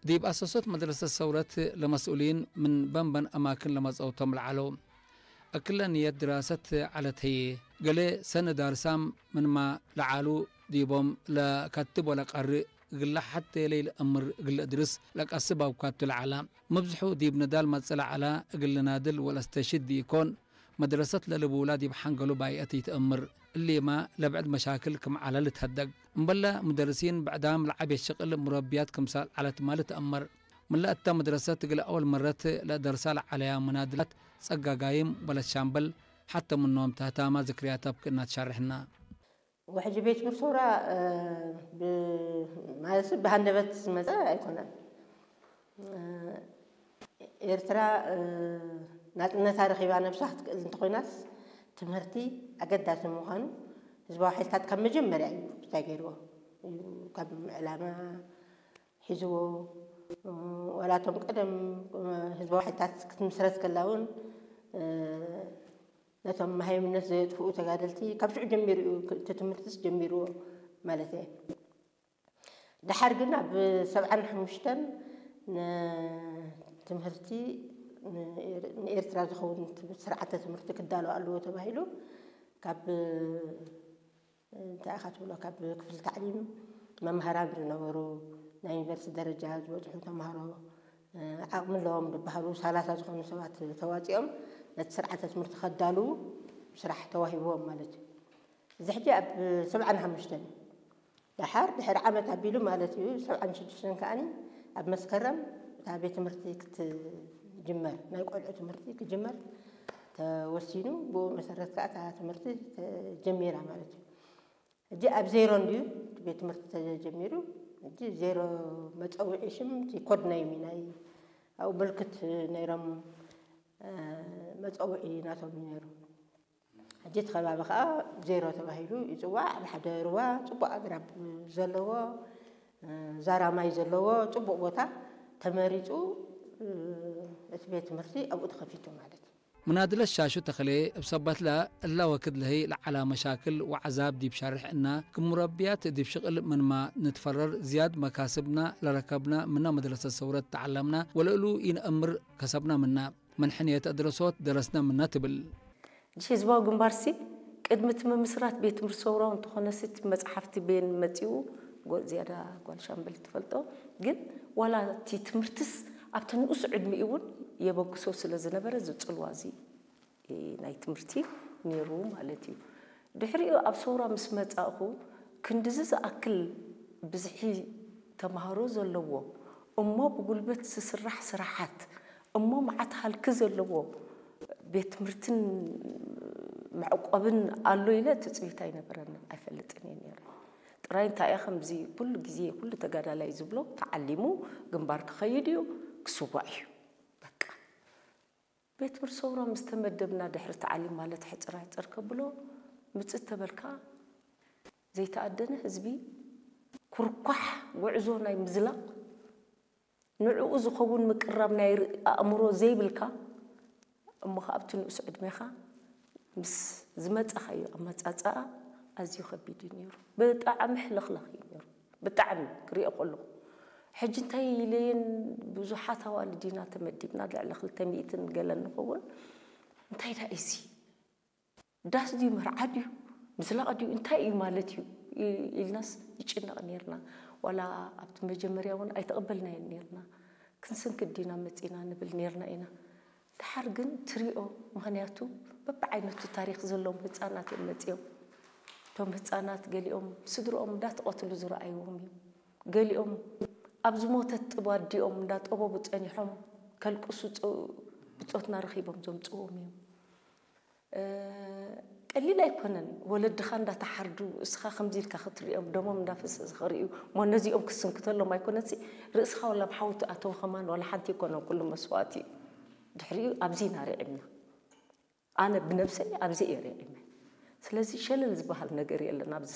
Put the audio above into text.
ዲብ ኣሰሶት መድረሰት ሰውረት ለመስኡሊን ምን በንበን ኣማክን ለመጸውቶም ለዓለው። እክለ ንየት ድራሰት ዐለት ህዬ፣ ገሌ ሰነ ዳርሳም ምንማ ለዓሉ ዲቦም ለከትብ ወለቀርእ እግለ ሐቴ ለኢለአምር እግለ እድርስ ለቀስብ አውካቱ ለዐላ። መብዝሑ ዲብ ንዳል መጽእ ለዐላ እግል ልናድል ወለአስተሽድ ዲኢኮን፣ መድረሰት ለልቡላ ዲብ ሐንገሉ ባይአት ኢትአምር። እሊማ ለብዕድ መሻክል ክም ዐለ ልትሀደግ። እምበለ ሙደርሲን ብዕዳም ለዐቤት ሽቅል ሙረብያት ክምሳል ዐለት ማ ልትአመር። ምን ለእተ መድረሰት እግል አወል መረት ለደርሳ ለዐለያ መናድላት ጸጋጋይም ወለት ሻምበል ሐተ ምኖም ተህታማ ዝክርያት አብክእና ትሻርሕና። ውሕጅ ቤት ብር ሰውራ፣ እ፣ ብ-፣ ማለት ብሃንደበት ዝመጸ ኣይኮነን። እ፣ ኤርትራ፣ እ፣ ናጽነታ ረኺባ ነብሳ ክትክእል እንተኾይናስ ትምህርቲ ኣገዳሲ ምዃኑ ህዝባዊ ሓይልታት ካብ መጀመርያ እዩ እንታይ ገይርዎ እዩ፣ ካብ ዕላማ ሒዝዎ፣ እ፣ ዋላቶም ቀደም፣ እ፣ ህዝባዊ ሓይልታት ክትምስረት ከላ እውን፣ እ፣ ነቶም መሃይምነት ዘየጥፍኡ ተጋደልቲ ካብ ሽዑ ጀሚሩ እዩ፣ እቲ ትምህርትስ ጀሚርዎ ማለት እየ። ደሓር ግን ኣብ ሰብዓን ሓሙሽተን ንትምህርቲ ንኤር-፣ ንኤርትራ ዝኸውን ስርዓተ ትምህርቲ ክዳሎ ኣለዎ ተባሂሉ ካብ፣ እንታይ ኢኻ ትብሎ፣ ካብ ክፍሊ ታዕሊም መምሃራን ዝነበሩ፣ ናይ ዩኒቨርሲቲ ደረጃ ዝበጽሑ ተምሃሮ፣ ዓቕሚ ኣለዎም ዝበሃሉ ሰላሳ ዝኾኑ ሰባት ተዋጺኦም ነቲ ስርዓተ ትምህርቲ ከዳልዉ ስራሕ ተዋሂብዎም ማለት እዩ። እዚ ሕጂ ኣብ ሰብዓን ሓሙሽተን እዩ። ደሓር ድሕሪ ዓመት ኣቢሉ ማለት እዩ፣ ሰብዓን ሽዱሽተን ከኣኒ ኣብ መስከረም እታ ቤት ትምህርቲ ክትጅመር፣ ናይ ቆልዑ ትምህርቲ ክጅመር ተወሲኑ፣ ብኡ መሰረት ከኣ እታ ትምህርቲ ተጀሚራ ማለት እዩ። ሕጂ ኣብ ዜሮ እንድዩ እቲ ቤት ትምህርቲ ተጀሚሩ። ሕጂ ዜሮ መጸውዒ ሽም፣ እቲ ኮድ ኔም እዩ፣ ናይ ኣብኡ ምልክት ነይሮም፣ እ፣ መጸውዒ ናቶም እዩ ነይሩ። ሕጂ እቲ ከባቢ ከኣ ዜሮ ተባሂሉ ይጽዋዕ። ኣብ ሓደ ሩባ ጽቡቕ ኣግራብ ዘለዎ፣ እ፣ ዛራ ማይ ዘለዎ ጽቡቕ ቦታ ተመሪጹ፣ እ፣ እቲ ቤት ትምህርቲ ኣብኡ ተኸፊቱ ማለት እዩ። ምናድለት ሻሹ ተኽሌ እብ ሰበትላ እላ ወክድ ለህይ ለዐላ መሻክል ወዐዛብ ዲብ ሸርሕ እና፣ ክም ሙረብያት ዲብ ሽቅል ምንማ ንትፈረር ዝያድ መካስብና ለረከብና ምና መድረሰት ሰውረት ተዐለምና ወለእሉ ኢነአምር ከሰብና ምና። ምን ሕንየት አድረሶት ደረስና ምና ትብል። ህዝባዊ ግንባርሲ ቅድሚ እቲ ምምስራት ቤት ትምህርቲ ሰውራዊ እንተኾነሲ እቲ መጽሓፍቲ ቤን መጺኡ ጎ-፣ ዝያዳ ጓል ሻምበል ትፈልጦ። ግን ዋላ እቲ ትምህርትስ ኣብቲ ንኡስ ዕድሚኡ እውን የበግሶ ስለ ዝነበረ እዚ ጽልዋ እዚ ናይ ትምህርቲ ነይሩ ማለት እዩ። ድሕሪኡ ኣብ ሰውራ ምስ መጻእኹ ክንድዚ ዝኣክል ብዝሒ ተምሃሮ ዘለዎ እሞ ብጉልበት ዝስራሕ ስራሓት እሞ መዓት ሃልኪ ዘለዎ ቤት ትምህርትን መዕቆብን ኣሎ ኢለ ትጽቢት ኣይነበረንን፣ ኣይፈልጥን እየ ነይረ። ጥራይ እንታይ እየ ከምዚ ኩሉ ግዜ ኩሉ ተጋዳላይ ዝብሎ ተዓሊሙ ግንባር ክኸይድ እዩ ክስዋእ እዩ በቃ። ቤት ትምህርቲ ሰውራ ምስ ተመደብና ድሕሪ ተዓሊም ማለት ሕጽር ሕጽር ከብሎ ምጽእ ተበልካ ዘይተኣደነ ህዝቢ ኩርኳሕ ጉዕዞ ናይ ምዝላቕ ንዕኡ ዝኸውን ምቅራብ ናይ ር-፣ ኣእምሮ ዘይብልካ እሞ ከኣ ኣብቲ ንኡስ ዕድሜኻ ምስ ዝመጻኻዮ ኣመጻጽኣ ኣዝዩ ከቢድ እዩ ነይሩ። ብጣዕሚ ሕልኽላኽ እዩ ነይሩ። ብጣዕሚ ክሪኦ ከለኹ ሕጂ እንታይ ኢለየን ብዙሓት ኣዋልድ ኢና ተመዲብና ልዕሊ ክልተ ሚእትን ገለን ንኸውን እንታይ ዳ እዚ ዳስ ድዩ መርዓ ድዩ ምዝላቕ ድዩ እንታይ እዩ ማለት እዩ ኢልናስ ንጭነቕ ነርና። ዋላ ኣብቲ መጀመርያ እውን ኣይተቐበልናዮን ነርና። ክንስንክት ዲና መፂና ንብል ነርና ኢና። ደሓር ግን ትሪኦ ምኽንያቱ በብዓይነቱ ታሪኽ ዘለዎም ህፃናት እዮም መፂኦም። እቶም ህፃናት ገሊኦም ስድርኦም እንዳተቐትሉ ዝረኣይዎም እዮም። ገሊኦም ኣብ ዝሞተት ጥብ ኣዲኦም እንዳጠበቡ ፀኒሖም ከልቅሱ ብፆትና ረኺቦም ዘምፅዎም እዮም። ቀሊል ኣይኮነን ወለድኻ እንዳተሓርዱ እስኻ ከምዚ ኢልካ ክትሪኦም ደሞም እንዳፈሰሰ ክርእዩ እሞ ነዚኦም ክስንክተሎም ኣይኮነሲ ርእስኻ ወላ ብሓዊ ትኣተው ከማን ዋላ ሓንቲ ኣይኮነን ኩሉ መስዋእቲ እዩ። ድሕሪኡ ኣብዚ ኢና ርዒምና። ኣነ ብነብሰይ ኣብዚ እየ ርዒመ። ስለዚ ሸለል ዝበሃል ነገር የለን ኣብዚ